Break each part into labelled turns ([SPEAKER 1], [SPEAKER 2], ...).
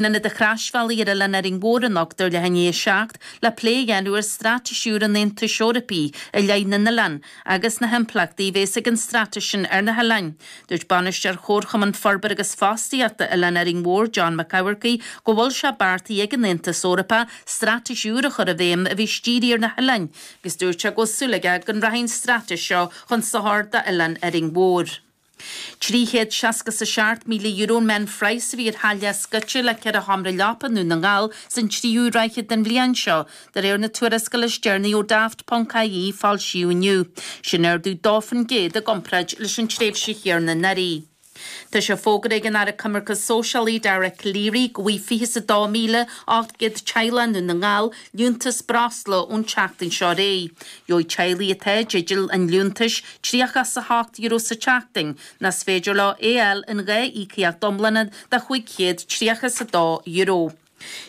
[SPEAKER 1] Ionad an Chroisbhealaigh ar Oileán Árainn Mhór anocht ar leath i ndiaidh 7 le plé a dhéanamh ar straitéis úr an Aontais Eorpaigh i leith na n-oileán agus na himpleachtaí a bhéas ag an straitéis sin ar na hoileáin. Dúirt Bainisteoir Chomharchumann Forbartha agus Fostaíochta Oileán Árainn Mhór, John Mac Eamharcaigh, go bhfuil sé beartaithe ag an Aontas Eorpach straitéis úr a chur i bhfeidhm a bheas dírithe ar na hoileáin agus dúirt sé go bhfuil súil aige go rachaidh an straitéis seo chun sochair d'Oileán Árainn Mhór. €367,000 an meánphraghas a bhí ar tháille scoite le 4 sheomra leapa i nDún na nGall san tríú ráithe den bhliain seo, de réir na tuarascála is deireanaí ó Daft.ie a foilsíodh inniu. Sin ardú 2% i gcomparáid leis an tréimhse chéanna anuraidh. Tá sé fógartha ag an Aire Coimirce Sóisialaí Dara Calleary go bhfaighidh 22,800 teaghlach i nDún na nGall liúntas breosla ón tseachtain seo ar aghaidh. Gheobhaidh teaghlaigh atá i dteideal an liúntais €38 sa tseachtain, nó is féidir leo é a fháil in 2 íocaíocht iomlána de €532.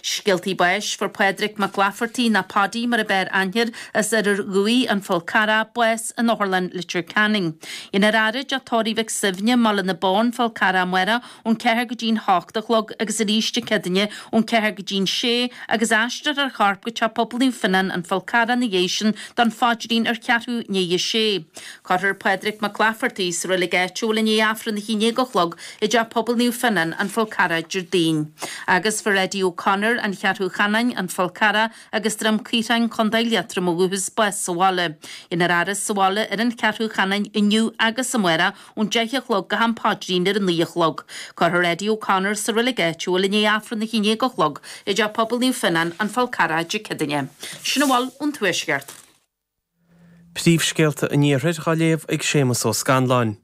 [SPEAKER 1] Scéaltaí báis, Fuair Pádraig Mac Laifeartaigh, nó Paddy mar a b'fhearr aithne air, as Oirear Dhuibhigh, An Fál Carrach, bás in Otharlann Leitir Ceanainn. Déanfar a fhaire i dTeach Tórraimh Mhic Suibhne, mBaile na Bó, An Fál Carrach amárach ón 4 go dtí'n 8 a chlog agus arís Dé Céadaoine ón 4 go dtí'n 6 agus aistreofar a chorp go Teach Pobail Naomh Fionnán, An Fál Carrach ina dhiaidh sin don phaidrín ar cheathrú i ndiaidh a sé. Cuirfear Pádraig Mac Laifeartaigh sa reilig áitiúil i ndiaidh Aifreann a haon déag a chlog i dTeach Pobail Naomh Fionnán, An Fál Carrach, Déardaoin. Agus fuair Eddie O'Connor, An Cheathrú Chanáin, An Fál Carrach agus Droim Caothráin, Contae Liatroma ó dhúchas, bás sa bhaile. Déanfar a fhaire sa bhaile ar an Cheathrú Chanáin inniu agus amárach ón 10 a chlog go ham paidrín ar a 9 a chlog. Cuirfear Eddie O'Connor sa reilig áitiúil i ndiaidh Aifreann a haon déag a chlog i dTeach Pobail Naomh Fionnán, An Fál Carrach, Dé Céadaoine. Sin a bhfuil ón Tuaisceart.
[SPEAKER 2] Príomhscéalta an Iarthair á léamh ag Séamus Ó Scanláin.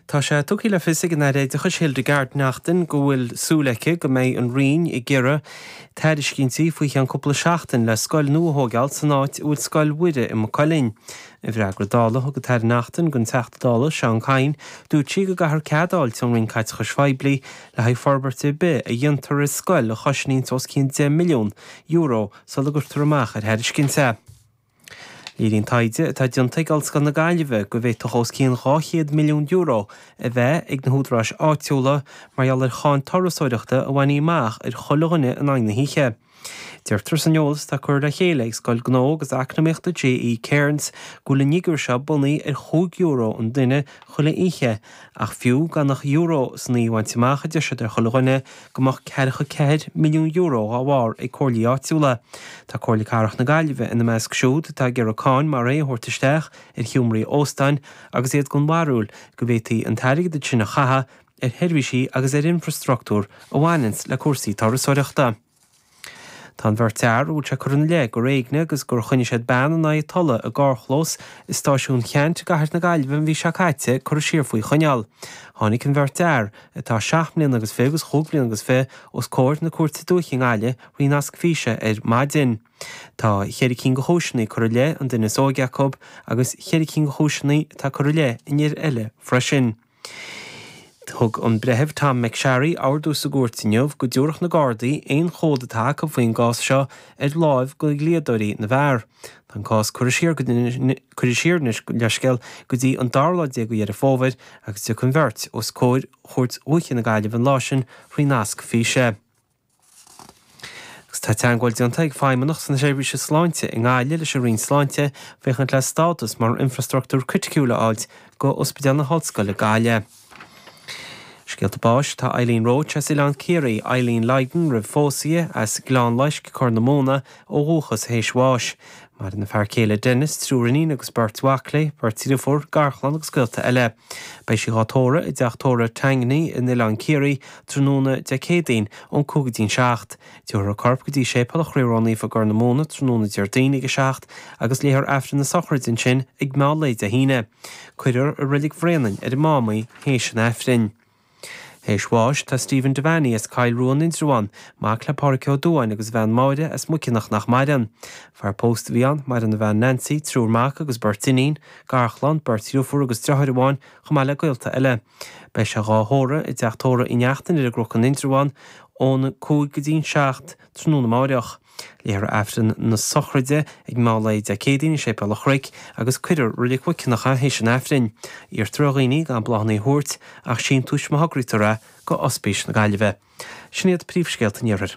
[SPEAKER 2] Tá sé tugtha le fios ag an Aire Oideachais Hildegarde Naughton go bhfuil súil aici go mbeidh an Roinn ag iarraidh tairiscintí faoi cheann cúpla seachtain le scoil nua a thóigeáil san áit a bhfuil Scoil Mhuire i Maigh Cuilinn. I bhfreagra Dála a thug an tAire Naughton don Teachta Dála Seán Kyne, dúirt sí go gcaithfear cead a fháilt ón Roinn Caiteachais Phoiblí le haghaidh forbairt ar bith a dhéantar ar scoil a chosnaíonns os cionn €10 milliún sula gcuirtear amach ar thairiscint é. Léiríonn taighde atá déanta ag Ollscoil na Gaillimhe go bhféadfadh os cionn €200 milliún a bheith ag na húdaráis áitiúla mar gheall ar cháin turasóireachta a bhainfí amach ar chuile dhuine in aghaidh na hoíche. Deirtear san eolas atá curtha le chéile ag Scoil Gnó agus Eacnamaíochta J.E. Cairns go bhfuil an fhigiúr seo bunaithe ar €5 an duine chuile oíche ach fiú gan ach euro san oíche a bhaint amach, a deir siad, ar chuile dhuine, go mbeadh €44 milliún dá bharr ag comhairlí áitiúla. Tá Comhairle Cathrach na Gaillimhe ina measc siúd atá ag iarraidh cáin mar é a thabhairt isteach ar sheomraí óstáin agus iad den bharúil go bhféadfaí an t-airgead sin a chaitheamh ar sheirbhísí agus ar infreastruchtúr a bhaineanns le cúrsaí turasóireachta. Tá an bheirt fhear a bhfuil sé curtha ina leith gur éignigh agus gur choinnigh siad bean in aghaidh a tola i gcarrchlós i Stáisiún Cheannt i gcathair na Gaillimhe an mhí seo caite curtha siar faoi choinneáil. Tháinig an bheirt fhear, atá seacht mbliana agus fiche agus chúig bliana agus fiche, os comhair na Cúirte Dúiche i nGaillimh thrí nasc físe ar maidin. Tá cheithre cinn de chúiseanna curtha i leith an duine is óige acu agus cheithre cinn de chúiseanna atá curtha i leith an fhir eile freisin. Thug an Breitheamh Tom McSharry ordú sa gcúirt inniu go dtabharfadh na Gardaí aon chomhad atá acu faoin gcás seo ar láimh go dhlíodóirí na bhfear. Tá an cás curtha siar curtha siar anois, leithscéal, go dtí an dara lá déag de Dheireadh Fómhair agus tiocfaidh an bheirt os comhair Chúirt Dhúiche na Gaillimhe an lá sin thrí nasc físe. Agus tá teagmháil déanta ag Feidhmeannacht na Seirbhíse Sláinte i nGaillimh leis an Roinn Sláinte féachaint le stádas mar infreastruchtúr criticiúil a fháilt go Ospidéal na hOllscoile Gaillimh. Scéalta báis, Tá Eileen Roche as Oileán Ciarraí, Eileen Lydon roimh phósadh di, as Gleann Loisc, Corr na Móna, ó dhúchas, théis bháis. Maireann a fear céile Denis, triúr iníon agus beirt mhac léi, beirt dhriofúr, garchlann agus gaolta eile. Beidh sí dhá tórramh i dteach tórraimh Tangney in Oileán Ciarraí tráthnóna Dé Céadaoin ón 5 go dtí'n 7. Tabharfar a corp go dtí Séipéal an Chroí Ró-Naofa i gCorr na Móna tráthnóna Déardaoin ag 7 agus léifear Aifreann na sochraide ansin ag meán lae Dé hAoine. Cuirfear i Reilig Bhréanainn ar an Mám í théis an Aifrinn. Théis bháis, tá Stephen Devaney as Cill Ruan, Indreabhán, mac le Pádhraic Ó Dubháin agus a bhean Máire as Muiceanach nach maireann. Fear pósta a bhí ann, maireann a bhean Nancy, triúr mac agus beirt iníon, garchlann, beirt dhriofúr agus driotháir amháin, chomh maith le gaolta eile. Beidh sé dhá thórramh i dteach tórraimh Uí Neachtain ar an gCnoc in Indreabhán. Ón 5 go dtí an 7 tráthnóna amáireach. Léifear Aifreann na sochraide ag meán lae Dé Céadaoin i Séipéal an Chnoic agus cuirfear Reilig Mhuiceanach é théis an Aifrinn. Iarrtar ar dhaoine gan bláthanna a thabhairt ach síntiúis má thograítear é go Ospís na Gaillimhe. Sin iad príomhscéalta an Iarthair.